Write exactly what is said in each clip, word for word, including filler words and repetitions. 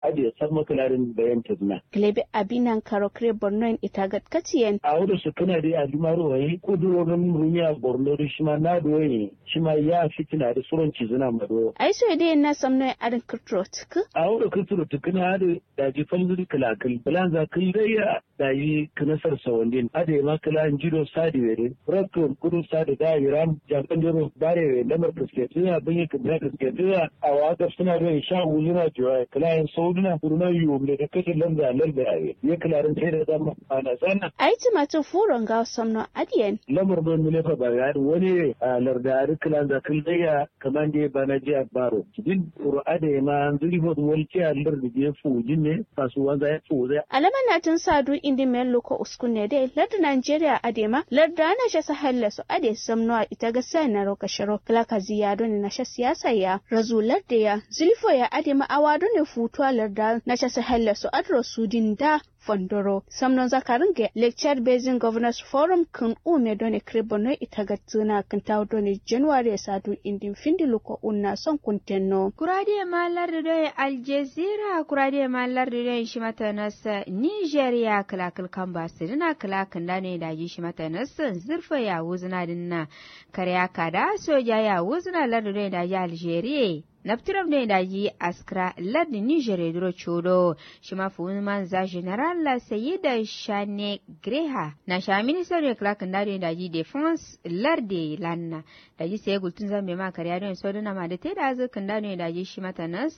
Adǝ ye samma kǝladǝn bayan tǝzǝna. Gǝlebe abi nankaro kǝre bornoyen itagat katiyen awo do sǝkkǝna dǝ ye adǝ maro wayi kuduro nǝm rumiya borno dǝ shima nadu wayi. Shima ya fitina dǝ suron cizǝna ma do. Ai soye dǝ ye na samnoye adǝn kǝrturo tǝkkǝ. Awo do kǝrturo tǝkkǝna adǝ daji falzǝ dǝ kǝlakǝl kǝlanza kǝl dai ya. Daji kǝnasar sawandin adǝ ye ma kǝla njido sadi wede. Rakto kudu sadi da yiram jakan dero bare we lamar kǝsketǝ ya bǝnyi kǝnda kǝsketǝ ya. Awa gabsǝna doi sha wuzǝna jiwa kǝla yen saudǝna kurunan yuwum ne da kashe lamza lamza yawe ye kǝla dǝn sai da zama. Ana sana. Ai timatǝ furo ngawo samno adǝ yen. Lamar don mǝlefa ba ya dǝ wani ye a larda adǝ kǝlanza kǝl dai ya. Kǝmande bana jiya baro din kuru adǝ ye ma nzǝri fo dǝ waltiya lardǝ diye fuwujin ne. Kasuwanza ye fuwuza. Alama natin sadu indi men luko uskun ne dai lardǝ nigeria adǝ ye ma lardǝ ana sha sahel le so adǝ ye samno a ita gasa naro kasharo kǝla kazi ya done nasha siyasa ya razu lardǝ ya. Zǝlifo ya adǝ ye ma awa done futu a lardǝ nasha sahel le so adǝ ro sudin da. Fondoro samnon zakarǝn ge lecture basin governors forum kǝn ume done kǝre borno ita gattǝna kǝn tawo done january ye sadu indin findi luko unna son kuntenno. Kura dǝ ye ma lardǝ done aljazira kura dǝ ye ma lardǝ done shima tanas nigeria kǝla kǝl kamba sǝdǝna kǝla kǝnda done daji shima tanas zǝrfo ya wuzǝna dǝnna. Kare ya kada soja ya wuzǝna lardǝ done daji algeria. Nabtiram doi daji askra lardǝ niger ye duro codo. Shima fuwun manza general la sayida shane greha na sha minister doi kla kǝnda doi daji defense lardǝ ye lanna. Daji saye gultun zambe ma kariya doi soduna ma dǝ taida zǝ kǝnda doi daji shima tanas.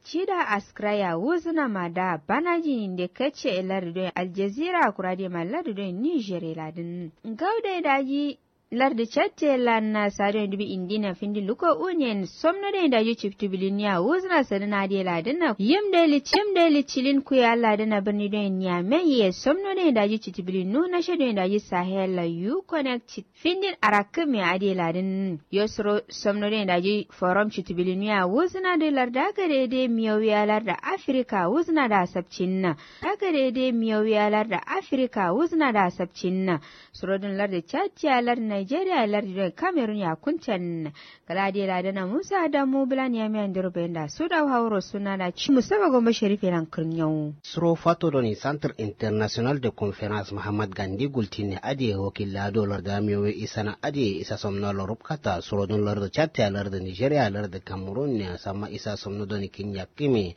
Cida askra ya wuzǝna ma da banaji nde kace lardǝ doi aljazira kura doi ma lardǝ doi niger ye ladǝn. Ngau doi daji lardǝ catte lanna sadiyon dubi indina findi luko unen somno doi daji ciftu biliniya wuzǝna sǝdǝna adǝ ye ladǝnna yim doi lǝcilin kuye alladǝnna bǝrni doi niyame ye somno doi daji ciftu bilinu nasha doi daji sahel la yu connect findin arakkǝ me adǝ ye ladǝn. Yo suro somno doi daji forom ciftu bilinu ya wuzǝna doi larda gade doi miyowiya larda afrika wuzǝna da sabcinna. Dagade doi miyowiya larda afrika wuzǝna da sabcinna. Surodǝn lardǝ cad tiya lardǝ nigeria lardǝ doi cameroon ya kunten. Kǝla adǝ ye ladǝna musa adamu bǝla niyamiya ndiro bayinda suda hauro sunana ci musaba gombo sherif ye lan kǝrnyawu. Suro fato done santre international de conference muhammad gandi gultinne adǝ ye wakilla do larda miyowe isana adǝ ye isa somnalo rubkata surodǝn lardǝ cad tiya lardǝ nigeria lardǝ cameroon ne asamma isa somno done kinyakkǝme.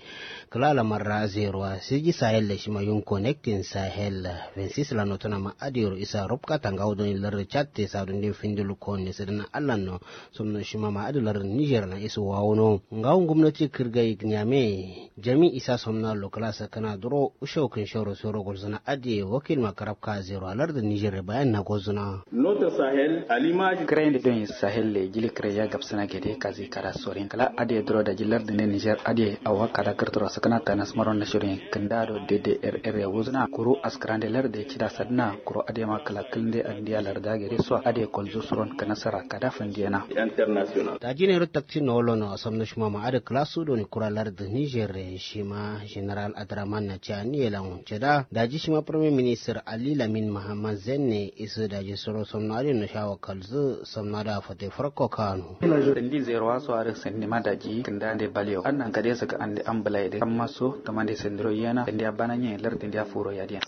Kǝla lamarra zero a siji sahel le shima yun connecting sahel vingt six la notuna ma adǝ yero isa rubkata ngawo done lardǝ cad te sadun din findi lukko ne sǝdǝna allan no. Somno shima ma adǝ lardǝ niger lan isu wawuno ngawo gomnati kǝrgai nyame. Jami isa somna lo kǝla sakkǝna duro usho kǝn shoro soro gulzǝna adǝ ye wakil ma karabka zero a lardǝ niger ye bayan na gozǝna. Notre sahel à l'image. Kǝrayinde don sahel le jili kǝrayya gabsǝna gede kazi kada sorin kǝla adǝ ye duro daji lardǝ ne niger adǝ ye awa kada kǝrturo sǝkǝna tanas maro nashirin kǝnda do dede rr ye wuzǝna kuru askǝrande lardǝ ye cida sadǝna kuru adǝ ye ma kǝla kǝlnde andiya larda gede so adǝ ye kolzu suron kǝnasara kada fandiyena. International. Daji nero taktin no wolono asamno shima ma adǝ kǝla su doni kura lardǝ niger ye shima general adraman na cani ye lan cida daji shima premier ministre ali lamin muhammad zenne isǝ daji suro somno adǝ no shawa kalzǝ. Samna da fate farko kano. Sandi zero waso adǝ sandi ma daji kǝnda nde balewo annan kade sǝka ande ambulai de amma so kama nde sandiro yena sandi abana nye lar sandi afuro yadiyan.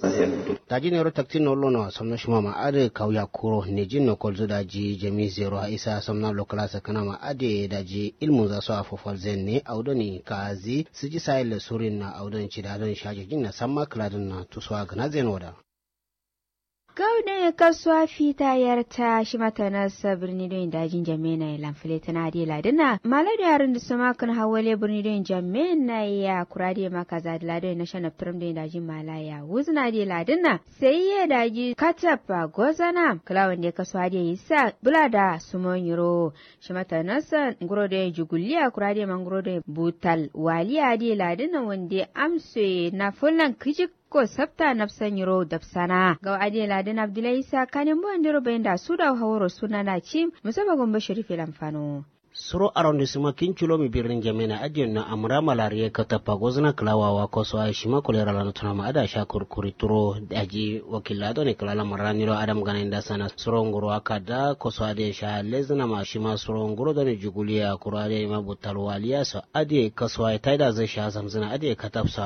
Daji nero taktin no lono samno shima ma adǝ kauya kuro nejin no kolzo daji jami zero a isa samna lokala sakana ma adǝ daji ilmun za so afofal zenne audoni kazi siji sayil surin na audoni cida don shaji jinna samma kladin na tusuwa gana zeno da. Gau doi kasuwa fita yarta shima tanassa birni doi daji njamena ye lan fǝletǝna adǝ ye ladǝna mala doi arǝndǝ sǝma kǝn hawwale birni doi njamena ye ya kura adǝ ye ma kaza dǝla doi nasha naptǝram doi daji mala ya wuzǝna adǝ ye ladǝna. Sai ye daji katappa gozana kǝla wande kasuwa adǝ ye yissa bǝla da sumo nyiro. Shima tanassa nguro doi jugulliya kura adǝ ye ma nguro doi butal waliya adǝ ye ladǝna wande amso ye na fullan kǝjik. Ko sabta nabsa nyiro dabsana gau adǝ ye ladǝn abdulai isa kanin bo andero bayinda suda haworo sunana cim musaba gombo sharife lan fano. Suro arondisima kin culomi birnin jamena adǝ ye no amra malariye katappa gozǝna kǝla wawa kosowa shima kolera lano tunama adǝ asha kurkuri turo daji wakilla done kǝla lamarra niro adam gana inda sana suro nguro akada kosowa adǝ ye sha lezǝnama shima suro nguro done juguliya kuro adǝ ye ma butal waliya so adǝ ye kosowa ye taida zai sha zamzǝna adǝ ye katapsa.